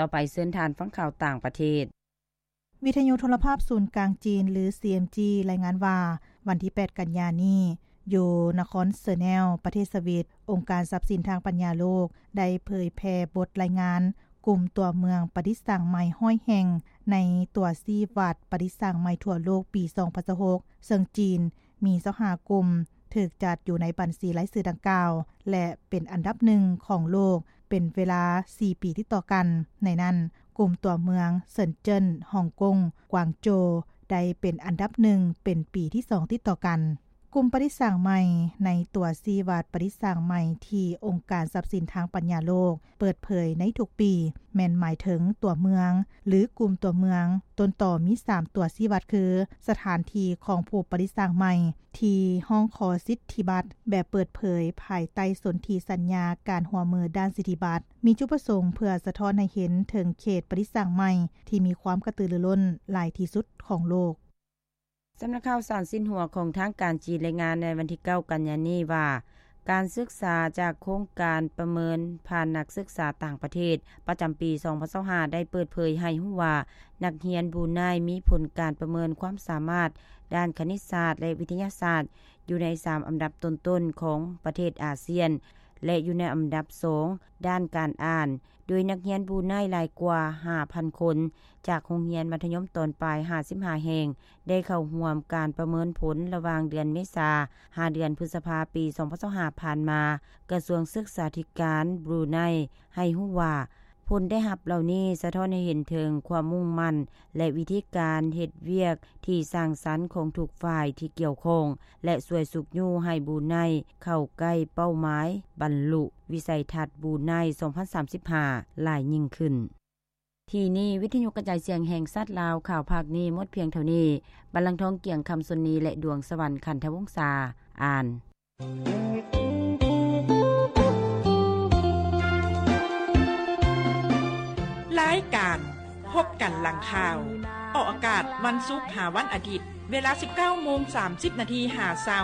ຕໍ່ໄປເຊີນທ່ານຟັງຂ່າວຕ່າງປະເທດ. ວິທະຍຸໂທລະພາບສູນກາງຈີນ ຫຼື ຊີເອັມຈີ ລາຍງານວ່າ ວັນທີແປດ ກັນຍານີ້ ຢູ່ນະຄອນເຊີແນວ ປະເທດສະວິດ, ອົງການຊັບສິນທາງປັນຍາໂລກ ໄດ້ເຜີຍແຜ່ບົດລາຍງານກຸ່ມຕົວເມືອງປະດິດສ້າງໃໝ່ຮ້ອຍແຫ່ງ ໃນຕົວຊີ້ວັດປະດິດສ້າງໃໝ່ທົ່ວໂລກປີສອງພັນຊາວຫົກ ເຊິ່ງຈີນມີຊາວຫ້າກຸ່ມ ຖືກຈັດຢູ່ໃນບັນຊີລາຍຊື່ດັ່ງກ່າວ ແລະ ເປັນອັນດັບໜຶ່ງຂອງໂລກ ເປັນເວລາສີ່ປີຕິດຕໍ່ກັນ. ໃນນັ້ນ, ກຸ່ມຕົວເມືອງເຊິນເຈິນ, ຮ່ອງກົງ, ກວາງໂຈວ ໄດ້ເປັນອັນດັບໜຶ່ງເປັນປີທີສອງຕິດຕໍ່ກັນ. ກຸ່ມປະດິດສ້າງໃໝ່ໃນຕົວຊີ້ວັດປະດິດສ້າງໃໝ່ທີ່ອົງການຊັບສິນທາງປັນຍາໂລກເປີດເຜີຍໃນທຸກປີ ແມ່ນໝາຍເຖິງຕົວເມືອງ ຫຼື ກຸ່ມຕົວເມືອງ. ຕົ້ນຕໍມີສາມຕົວຊີ້ວັດຄື ສະຖານທີ່ຂອງຜູ້ປະດິດສ້າງໃໝ່ ທີ່ຮ້ອງຂໍສິດທິບັດແບບເປີດເຜີຍ ພາຍໃຕ້ສົນທິສັນຍາການຮ່ວມມືດ້ານສິດທິບັດ ມີຈຸດປະສົງເພື່ອສະທ້ອນໃຫ້ເຫັນເຖິງເຂດປະດິດສ້າງໃໝ່ທີ່ມີຄວາມກະຕືລືລົ້ນຫຼາຍທີ່ສຸດຂອງໂລກ. ສຳນັກຂ່າວສານຊິນຫົວຂອງທາງການຈີນລາຍງານໃນວັນທີເກົ້າ ກັນຍານີ້ວ່າ ການສຶກສາຈາກໂຄງການປະເມີນຜ່ານນັກສຶກສາຕ່າງປະເທດ ປະຈຳປີສອງພັນຊາວຫ້າ ໄດ້ເປີດເຜີຍໃຫ້ຮູ້ວ່າ ນັກຮຽນບຣູໄນມີຜົນການປະເມີນຄວາມສາມາດດ້ານຄະນິດສາດ ແລະ ວິທະຍາສາດ ຢູ່ໃນສາມອັນດັບຕົ້ນໆຂອງປະເທດອາຊຽນ ແລະ ຢູ່ໃນອັນດັບສອງດ້ານການອ່ານ ໂດຍນັກຮຽນບຣູໄນຫຼາຍກວ່າຫ້າພັນຄົນ ຈາກໂຮງຮຽນມັດທະຍົມຕອນປາຍຫ້າສິບຫ້າແຫ່ງ ໄດ້ເຂົ້າຮ່ວມການປະເມີນຜົນລະຫວ່າງເດືອນເມສາ ຫາເດືອນພຶດສະພາ ປີສອງພັນຊາວຫ້າ ຜ່ານມາ. ກະຊວງສຶກສາທິການບຣູໄນໃຫ້ຮູ້ວ່າ ຜົນໄດ້ຮັບເຫຼົ່ານີ້ສະທ້ອນໃຫ້ເຫັນເຖິງຄວາມມຸ່ງໝັ້ນ ແລະ ວິທີການເຮັດວຽກທີ່ສ້າງສັນຂອງທຸກຝ່າຍທີ່ກ່ຽວຂ້ອງ ແລະ ຊ່ວຍຊຸກຍູ້ໃຫ້ບຣູໄນເຂົ້າໃກ້ເປົ້າໝາຍບັນລຸວິໄສທັດບຣູໄນສອງພັນສາມສິບຫ້າຫຼາຍຍິ່ງຂຶ້ນ. ທີ່ນີ້ ວິທະຍຸກະຈາຍສຽງແຫ່ງຊາດລາວ ຂ່າວພາກນີ້ໝົດພຽງເທົ່ານີ້. ບັນລັງທອງ ກຽງຄຳ ຊົນນີ ແລະ ດວງສະຫວັນ ຂັນທະວົງສາ ອ່ານ. ລາຍການພົບກັນຫຼັງຂ່າວ ອອກອາກາດວັນສຸກຫາວັນອາທິດ ເວລາສິບເກົ້າໂມງສາມສິບນາທີຫາຊາວ